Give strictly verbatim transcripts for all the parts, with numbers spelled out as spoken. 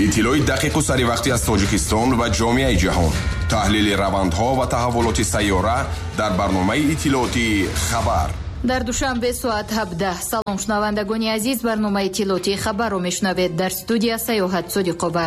Иттилои дақиқу саривақтӣ аз Тоҷикистон ва ҷомеаи ҷаҳон, таҳлили равандҳо ва таҳаввулоти сайёра дар барномаи иттилоотии «Хабар». Дар Душанбе соат ҳабдаҳ. Салом, шунавандагони азиз, барномаи иттилоотии «Хабарро» мешунавед. Дар студия Саёҳат Содиқова.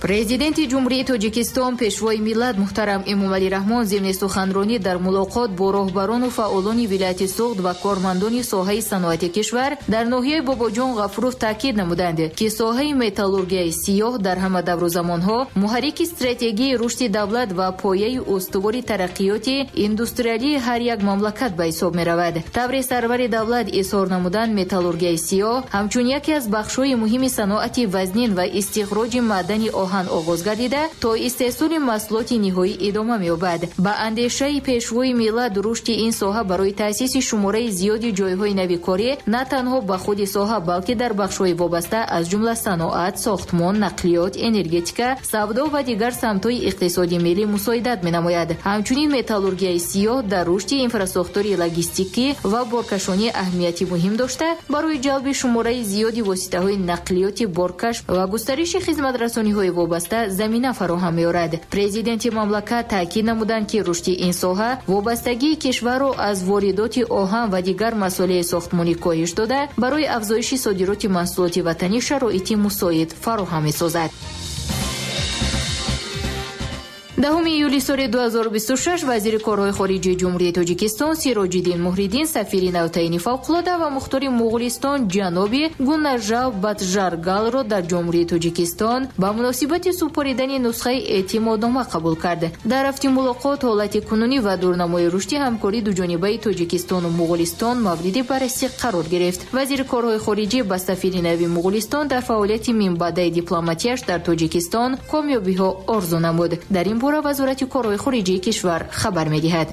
Президенти Ҷумҳурии Тоҷикистон, Пешвои миллат муҳтарам Эмомалӣ Раҳмон зимни суханронӣ дар мулоқот бо роҳбарону фаъолони вилояти Суғд ва кормандони соҳаи саноати кишвар дар ноҳияи Бобоҷон Ғафуров таъкид намуданд, ки соҳаи металлургияи сиёҳ дар ҳама давру замонҳо муҳаррики стратегияи рушди давлат ва пояи устувори тараққиёти индустриалии ҳар як мамлакат ба ҳисоб меравад. Тавре сарвари давлат изҳор намуданд, металлургияи сиёҳ ҳамчун яке аз бахшҳои муҳими саноати вазнин ва истихроҷи маъдани оҳан оғоз гардида, то истеҳсоли маҳсулоти ниҳоӣ идома меёбад. Ба андешаи пешвои миллат, рушди ин соҳа барои таъсиси шумораи зиёди ҷойҳои нави корӣ на танҳо ба худи соҳа, балки дар бахшҳои вобаста, аз ҷумла саноат, сохтмон, нақлиёт, энергетика, савдо ва дигар самтҳои иқтисоди миллӣ мусоидат менамояд. Ҳамчунин металлургияи сиёҳ дар рушди инфрасохтори логистикӣ ва боркашонӣ аҳамияти муҳим дошта, барои ҷалби шумораи зиёди воситаҳои нақлиёти боркаш ва густариши хизматрасониҳои вобаста замина фароҳам меорад. Президенти мамлакат таъкид намуданд, ки рушди ин соҳа вобастагии кишварро аз воридоти оҳан ва дигар масолеҳи сохтмонӣ коҳиш дода, барои афзоиши содироти маҳсулоти ватанӣ шароити мусоид фароҳам месозад. Даҳуми июли соли ду ҳазору бисту шаш вазири корҳои хориҷии Ҷумҳурии Тоҷикистон Сироҷиддин Муҳриддин сафири навтаъини фавқулода ва мухтори Муғулистон ҷаноби Гуннажав Батжаргалро дар Ҷумҳурии Тоҷикистон ба муносибати супоридани нусхаи эътимоднома қабул кард. Дар рафти мулоқот ҳолати кунунӣ ва дурнамои рушди ҳамкории дуҷонибаи Тоҷикистону Муғулистон мавриди баррасӣ қарор гирифт. Вазири корҳои хориҷӣ ба сафири нави Муғулистон дар фаъолияти минбаъдаи дипломатияш дар Тоҷикистон комёбиҳо орзу намуд. Дар ин бора Вазорати корҳои хориҷии кишвар хабар медиҳад.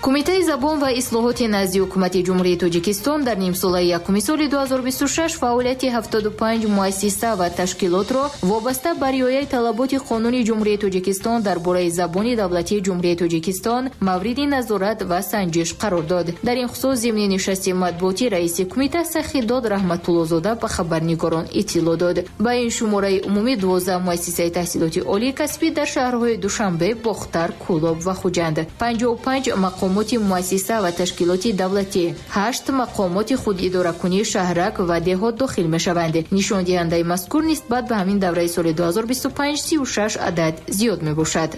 Кумитаи забон ва ислоҳоти назди Ҳукумати Ҷумҳурии Тоҷикистон дар нимсолаи якуми соли ду ҳазору бисту шаш фаъолияти ҳафтоду панҷ муассиса ва ташкилотро вобаста ба риояи талаботи Қонуни Ҷумҳурии Тоҷикистон дар бораи забони давлатии Ҷумҳурии Тоҷикистон мавриди назорат ва санҷиш қарор дод. Дар ин хусус зимни нишасти матбуотӣ раиси кумита Сахидод Раҳматуллозода ба хабарнигорон иттилоъ дод. Ба ин шумораи умумӣ дувоздаҳ муассисаи таҳсилоти олии касбӣ дар шаҳрҳои Душанбе, Бохтар, Кӯлоб ва Хуҷанд, панҷоҳу панҷ мақомоти муассиса ва ташкилоти давлатӣ, ҳашт мақомоти худидоракунии шаҳрак ва деҳот дохил мешаванд. Нишондиҳандаи мазкур нисбат ба ҳамин давраи соли ду ҳазору бисту панҷ сию шаш адад зиёд мебошад.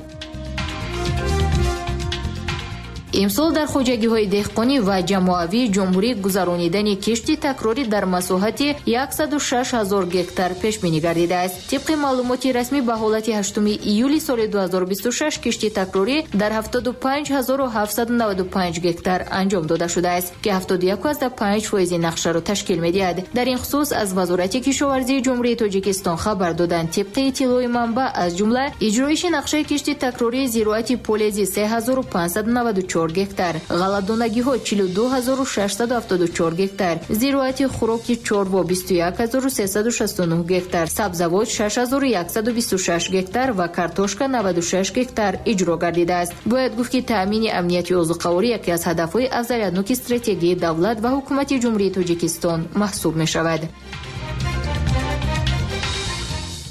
Имсол дар хоҷагиҳои деҳқонӣ ва ҷамоавии ҷумҳурӣ гузаронидани кишти такрорӣ дар масоҳати яксаду шаш ҳазор гектар пешбинӣ гардидааст. Тибқи маълумоти расмӣ, ба ҳолати ҳаштуми июли соли ду ҳазору бисту шаш кишти такрорӣ дар ҳафтоду панҷ ҳазору ҳафтсаду наваду панҷ гектар анҷом дода шудааст, ки ҳафтоду як ва панҷ фоизи нақшаро ташкил медиҳад. Дар ин хусус аз Вазорати кишоварзии Ҷумҳурии Тоҷикистон хабар доданд. Тибқи иттилои манбаъ, аз ҷумла иҷроиши нақшаи кишти такрории зироати полези се ҳазору панҷсаду наваду чор гектар, ғалладонагиҳо чилу ду ҳазору шашсаду ҳафтоду чор гектар, зироати хӯроки чорво бисту як ҳазору сесаду шасту нӯҳ гектар, сабзавот шаш ҳазору яксаду бисту шаш гектар ва картошка наваду шаш гектар иҷро гардидааст. Бояд гуфт, ки таъмини амнияти озуқаворӣ яке аз ҳадафҳои афзалиятноки стратегияи давлат ва Ҳукумати Ҷумҳурии Тоҷикистон маҳсуб мешавад.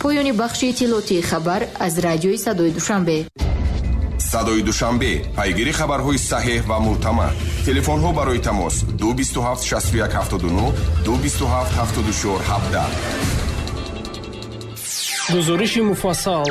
Поёни бахши иттилоотии «Хабар» аз радиои Садои Душанбе. Садои Душанбе, пайгири хабарҳои саҳеҳ ва мӯътамад. Телефонҳо барои тамос: ду бисту ҳафт шасту як ҳафтоду нӯҳ, ду бисту ҳафт ҳафтоду чор ҳабдаҳ. Гузориши муфассал.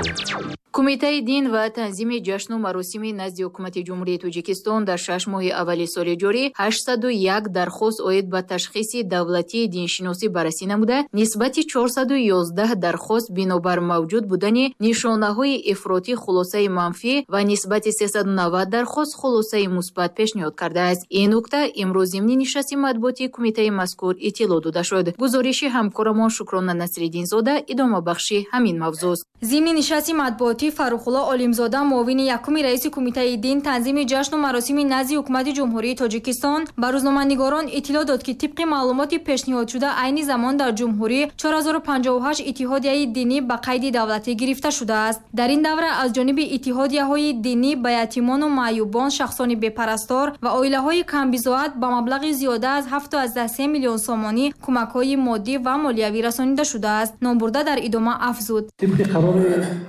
Кумитаи дин ва танзими ҷашну маросими назди Ҳукумати Ҷумҳурии Тоҷикистон дар шаш моҳи аввали соли ҷорӣ ҳаштсаду як дархост оид ба ташхиси давлатии диншиносӣ баррасӣ намуда, нисбати чорсаду ёздаҳ дархост бинобар мавҷуд будани нишонаҳои ифротӣ хулосаи манфӣ ва нисбати сесаду навад дархост хулосаи мусбат пешниҳод кардааст. Ин нукта имрӯз зимни нишасти матбуотии кумитаи мазкур иттилоъ дода шуд. Гузориши ҳамкорамон Шукрона Насриддинзода идомабахши ҳамин мавзӯст. Зимни нишасти матбуотӣ матбуотӣ Фаррухулло Олимзода, муовини якуми раиси Кумитаи дин, танзими ҷашну маросими назди Ҳукумати Ҷумҳурии Тоҷикистон ба рӯзноманигорон иттилоъ дод, ки тибқи маълумоти пешниҳодшуда айни замон дар ҷумҳурӣ чор ҳазору панҷоҳу ҳашт иттиҳодияи динӣ ба қайди давлатӣ гирифта шудааст. Дар ин давра аз ҷониби иттиҳодияҳои динӣ ба ятимону маъюбон, шахсони бепарастор ва оилаҳои камбизоат ба маблағи зиёда аз ҳафту се миллион сомонӣ кӯмакҳои моддӣ ва молиявӣ расонида шудааст. Номбурда дар идома афзуд: тибқи қарори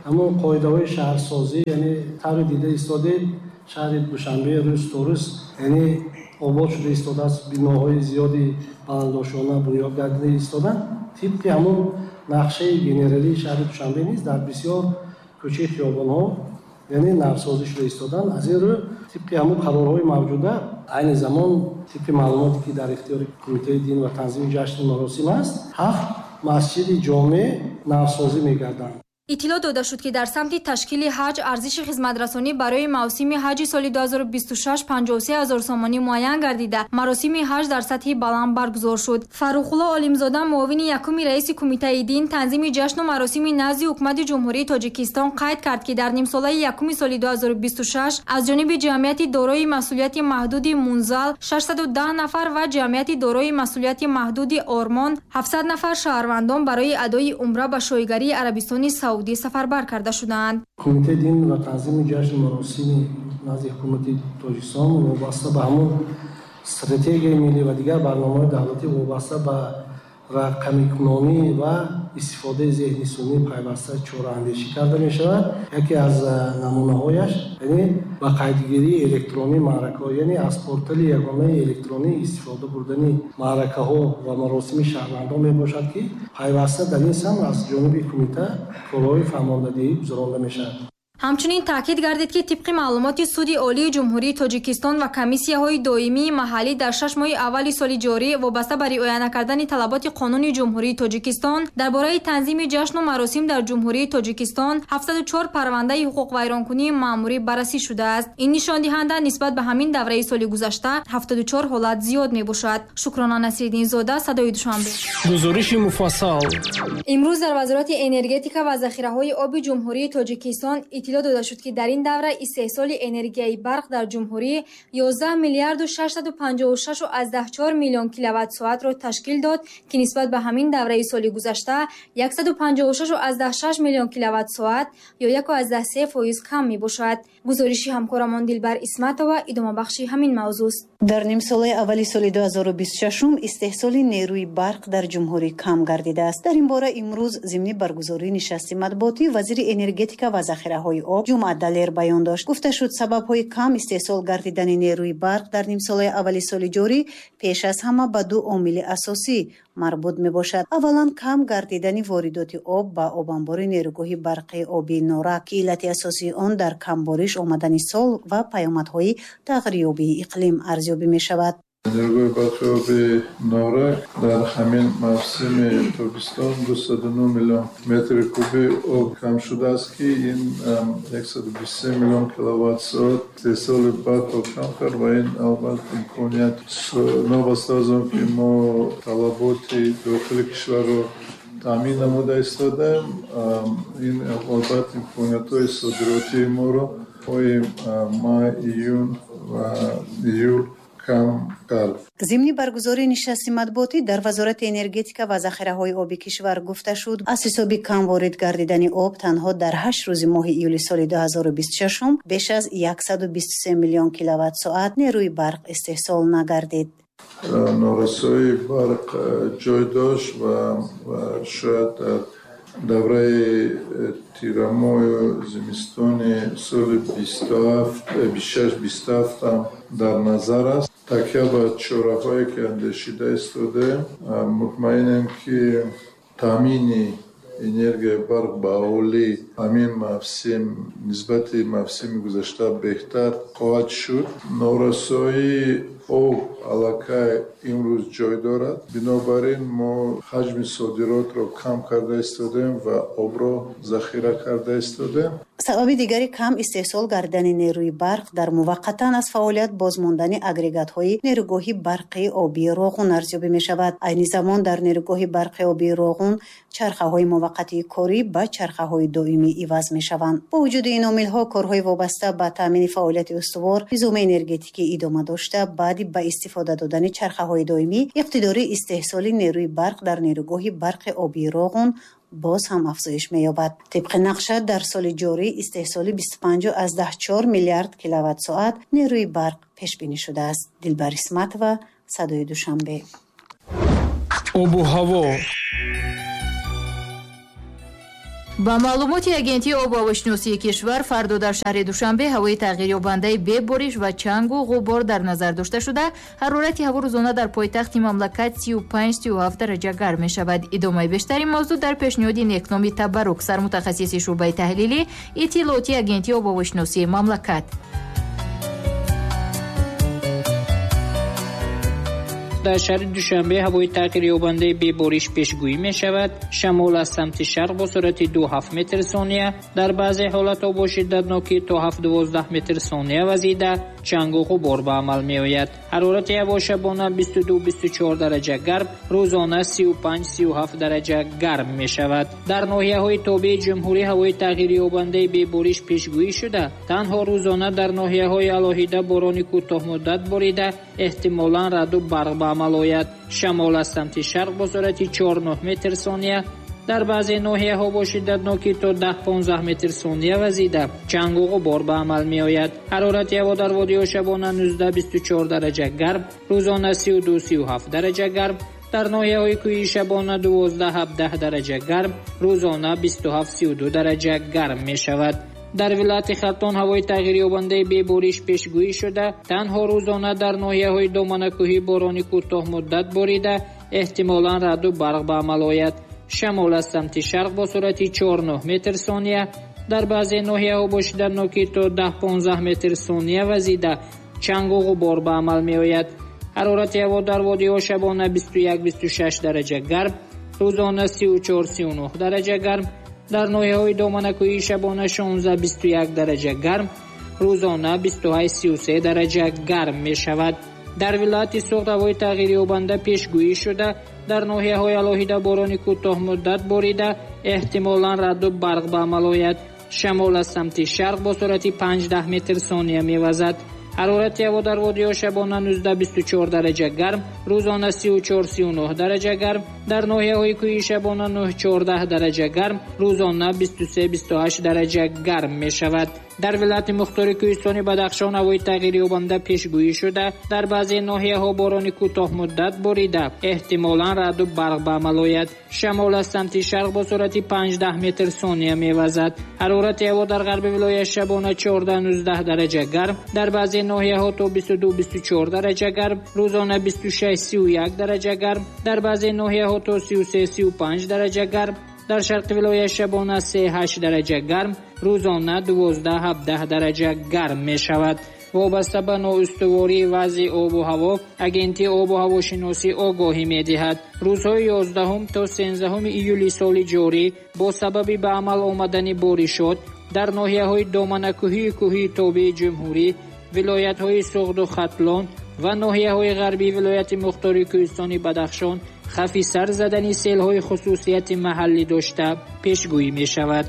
ҳамон қоидаҳои шаҳрсозӣ, яъне таври дида истодед, шаҳри Душанбе рӯз то рӯз яъне обод шуда истодааст, биноҳои зиёди баландошона бунёд гардида истоданд. Тибқи ҳамон нақшаи генералии шаҳри Душанбе низ дар бисёр кӯчаи хиёбонҳо яъне навсозӣ шуда истоданд. Аз ин рӯ тибқи ҳамон қарорҳои мавҷуда айни замон тибқи маълумоте ки дар ихтиёри Кумитаи дин ва танзими ҷашну маросим аст, ҳафт масҷиди ҷомеъ навсозӣ мегарданд. Иттилоъ дода шуд, ки дар самти ташкили ҳаҷ арзиши хизматрасонӣ барои мавсими ҳаҷи соли ду ҳазору бисту шаш панҷоҳу се ҳазор сомонӣ муайян гардида, маросими ҳаҷ дар сатҳи баланд баргузор шуд. Фаррухулло Олимзода, муовини якуми раиси Кумитаи дин, танзими ҷашну маросими назди Ҳукумати Ҷумҳурии Тоҷикистон қайд кард, ки дар нимсолаи якуми соли ду ҳазору бисту шаш аз ҷониби ҷамъияти дорои масъулияти маҳдуди Мунзал шашсаду даҳ нафар ва ҷамъияти дорои масъулияти маҳдуди Ормон ҳафтсад нафар шаҳрвандон барои адои умра ба шоҳигарии Арабистони Саудӣ сафарбар карда шудаанд. Кумитаи дин ва танзими ҷашну маросими назди Ҳукумати Тоҷикистон вобаста ба ҳамон стратегияи миллӣ ва дигар барномаҳои давлатӣ вобаста ба рақамикунонӣ ва истифодаи зеҳни сунъӣ пайваста чораандешӣ карда мешавад. Яке аз намунаҳояш яъне ба қайдгирии электронии маъракаҳо, яъне аз портали ягонаи электронӣ истифода бурдани маъракаҳо ва маросими шаҳрвандон мебошад, ки пайваста дар ин самт аз ҷониби кумита корҳои фаҳмондадиҳӣ гузаронда мешавад. Ҳамчунин таъкид гардид, ки тибқи маълумоти Суди Олии Ҷумҳурии Тоҷикистон ва комиссияҳои доимии маҳаллӣ дар шаш моҳи аввали соли ҷорӣ вобаста ба риоя накардани талаботи қонуни Ҷумҳурии Тоҷикистон дар бораи танзими ҷашну маросим дар Ҷумҳурии Тоҷикистон ҳафтсаду чор парвандаи ҳуқуқвайронкунии маъмурӣ баррасӣ шудааст. Ин нишондиҳанда нисбат ба ҳамин давраи соли гузашта ҳафтоду чор ҳолат зиёд мебошад. Шукрона Насриддинзода, Садои Душанбе. Гузориши муфассал. Имрӯз дар Вазорати энергетика ва захираҳои оби Ҷумҳурии Тоҷикистон иттилоъ дода шуд, ки дар ин давра истеҳсоли энергияи барқ дар ҷумҳурӣ ёздаҳ миллиарду шашсаду панҷоҳу шашу чор миллион киловатт-соатро ташкил дод, ки нисбат ба ҳамин давраи соли гузашта яксаду панҷоҳу шашу шаш миллион киловатт-соат ё яку се фоиз кам мебошад. Гузориши ҳамкорамон Дилбар Исматова идомабахши ҳамин мавзӯст. Дар нимсолаи аввали соли ду ҳазору бисту шашум истеҳсоли нерӯи барқ дар ҷумҳурӣ кам гардидааст. Дар ин бора имрӯз зимни баргузории нишасти матбуотӣ вазири энергетика ва захираҳои об Ҷумъа Далер баён дошт. Гуфта шуд, сабабҳои кам истеҳсол гардидани нерӯи барқ дар нимсолаи аввали соли ҷорӣ пеш аз ҳама ба ду омили асосӣ марбут мебошад. Аввалан, кам гардидани воридоти об ба обанбори нерӯгоҳи барқи обии Норак, ки иллати асосии он дар камбориш омадани сол ва паёмадҳои тағйирёбии иқлим арзёбӣ мешавад. Нерӯгоҳи барқи обии Норак дар ҳамин мавсими тобистон дусаду нӯҳ миллион метри куби об кам шудааст, ки ин яксаду бисту се миллион киловатт-соат истеҳсоли барқро кам кард ва ин албатта имконият новобаста аз он ки мо талаботи дохили кишварро таъмин намуда истодаем, ин албатта имкониятҳои содиротии моро моҳи май, июн ва июл кам кард. Зимни баргузории нишасти матбуотӣ дар Вазорати энергетика ва захираҳои оби кишвар гуфта шуд, аз ҳисоби кам ворид гардидани об танҳо дар ҳашт рӯзи моҳи июли соли ду ҳазору бисту шашум беш аз яксаду бисту се миллион киловатт-соат нерӯи барқ истеҳсол нагардид. Норасоии барқ ҷой дошт ва шояд дар давраи тирамоҳу зимистони соли бисту шаш бисту ҳафт ҳам дар назар аст. Такя ба чораҳое ки андешида истодаем, мутмаинем, ки таъмини энергияи барқ ба аҳолӣ ҳамин мавсим нисбати мавсими гузашта беҳтар хоҳад шуд. Норасоии об аллакай имрӯз ҷой дорад, бинобар ин мо ҳаҷми содиротро кам карда истодаем ва обро захира карда истодаем. Сабаби дигари кам истеҳсол гардидани нерӯи барқ дар муваққатан аз фаъолият бозмондани агрегатҳои нерӯгоҳи барқи обии Роғун арзёбӣ мешавад. Айни замон дар нерӯгоҳи барқи обии Роғун чархаҳои муваққатии корӣ ба чархаҳои доимӣ доимӣ иваз мешаванд. Бо вуҷуди ин омилҳо корҳои вобаста ба таъмини фаъолияти устувор низоми энергетикӣ идома дошта, баъди ба истифода додани чархаҳои доимӣ иқтидори истеҳсоли нерӯи барқ дар нерӯгоҳи барқи обии Роғун боз ҳам афзоиш меёбад. Тибқи нақша дар соли ҷорӣ истеҳсоли бисту панҷ аз даҳ чор миллиард киловатт-соат нерӯи барқ пешбинӣ шудааст. Дилбар Исматова, Садои Душанбе. Обу ҳаво. Ба маълумоти агентии обу ҳавошиносии кишвар, фардо дар шаҳри Душанбе ҳавои тағйирёбандаи бебориш ва чангу ғубор дар назар дошта шуда, ҳарорати ҳаво рӯзона дар пойтахти мамлакат сию панҷ сию ҳафт дараҷа гарм мешавад. Идомаи бештари мавзӯъ дар пешниҳоди Некноми Табарук, сармутахассиси шӯъбаи таҳлили иттилоотии агентии обу ҳавошиносии мамлакат. Дар шаҳри Душанбе ҳавои тағйирёбандаи бебориш пешгӯӣ мешавад. Шамол аз самти шарқ бо суръати ду ҳафт метр сония, дар баъзе ҳолатҳо бо шиддатнокӣ то ҳафт дувоздаҳ метр сония вазида, чангу ғубор ба амал меояд. Ҳарорати ҳаво шабона бисту ду бисту чор дараҷа гарм, рӯзона сию панҷ сию ҳафт дараҷа гарм мешавад. Дар ноҳияҳои тобеи ҷумҳурӣ ҳавои тағйирёбандаи бебориш пешгӯӣ шуда, танҳо рӯзона дар ноҳияҳои алоҳида борони кӯтоҳмуддат борида, эҳтимолан раъду барқ ба амал ояд. Шамол аз самти шарқ бо суръати чор нӯҳ метр сония, дар баъзе ноҳияҳо бо шиддатнокӣ то даҳ понздаҳ метр сония вазида, чангу ғубор ба амал меояд. Ҳарорати ҳаво дар водиҳо шабона нуздаҳ бисту чор дараҷа гарм, рӯзона сию ду сию ҳафт дараҷа гарм, дар ноҳияҳои кӯҳии шабона дувоздаҳ ҳабдаҳ дараҷа гарм, рӯзона бисту ҳафт сию ду дараҷа гарм мешавад. Дар вилояти Хатлон ҳавои тағйирёбандаи бебориш пешгӯӣ шуда, танҳо рӯзона дар ноҳияҳои доманакӯҳӣ борони кӯтоҳмуддат борида, эҳтимолан раъду барқ ба амал ояд. Шамол аз самти шарқ бо суръати чор нӯҳ метр сония, дар баъзе ноҳияҳо бо шиддатнокӣ то даҳ понздаҳ метр сония вазида, чангу ғубор ба амал меояд. Ҳарорати ҳаво дар водиҳо шабона бисту як бисту шаш дараҷа гарм, рӯзона сию чор сию нӯҳ дараҷа гарм, дар ноҳияҳои доманакӯҳии шабона шонздаҳ бисту як дараҷа гарм, рӯзона бисту ҳашт сию се дараҷа гарм мешавад. Дар вилояти Суғд ҳавои тағйирёбанда пешгӯӣ шуда, дар ноҳияҳои алоҳида борони кӯтоҳмуддат борида, эҳтимолан раъду барқ ба амал ояд. Шамол аз самти шарқ бо суръати панҷ даҳ метр сония мевазад. Ҳарорати ҳаво дар водиҳо шабона нуздаҳ бисту чор дараҷа гарм, рӯзона сию чор сию нӯҳ дараҷа гарм, дар ноҳияҳои кӯҳии шабона нӯҳ чордаҳ дараҷа гарм, рӯзона бисту се бисту ҳашт дараҷа гарм мешавад. Дар вилояти мухтори кӯҳистони Бадахшон ҳавои тағйирёбанда пешгӯӣ шуда, дар баъзе ноҳияҳо борони кӯтоҳмуддат борида, эҳтимолан раъду барқ ба амал ояд. Шамол аз самти шарқ бо суръати панҷ даҳ метр сония мевазад. Ҳарорати ҳаво дар ғарби вилоят шабона чордаҳ нуздаҳ дараҷа гарм, дар баъзе ноҳияҳо то бисту ду бисту чор дараҷа гарм, рӯзона бисту шаш сию як дараҷа гарм, дар баъзе ноҳияҳо то сию се сию панҷ дараҷа гарм, дар шарқи вилоят шабона се ҳашт дараҷа гарм, рӯзона дувоздаҳ ҳабдаҳ дараҷа гарм мешавад. Вобаста ба ноустувории вазъи обу ҳаво, агентии обу ҳавошиносӣ огоҳӣ медиҳад. Рӯзҳои ёздаҳум то сенздаҳуми июли соли ҷорӣ бо сабаби ба амал омадани боришот дар ноҳияҳои доманакӯҳии кӯҳии тобеи ҷумҳурӣ, вилоятҳои Суғду Хатлон ва ноҳияҳои ғарбии вилояти мухтори кӯҳистони Бадахшон хавфи сар задани селҳои хусусияти маҳаллӣ дошта пешгӯӣ мешавад.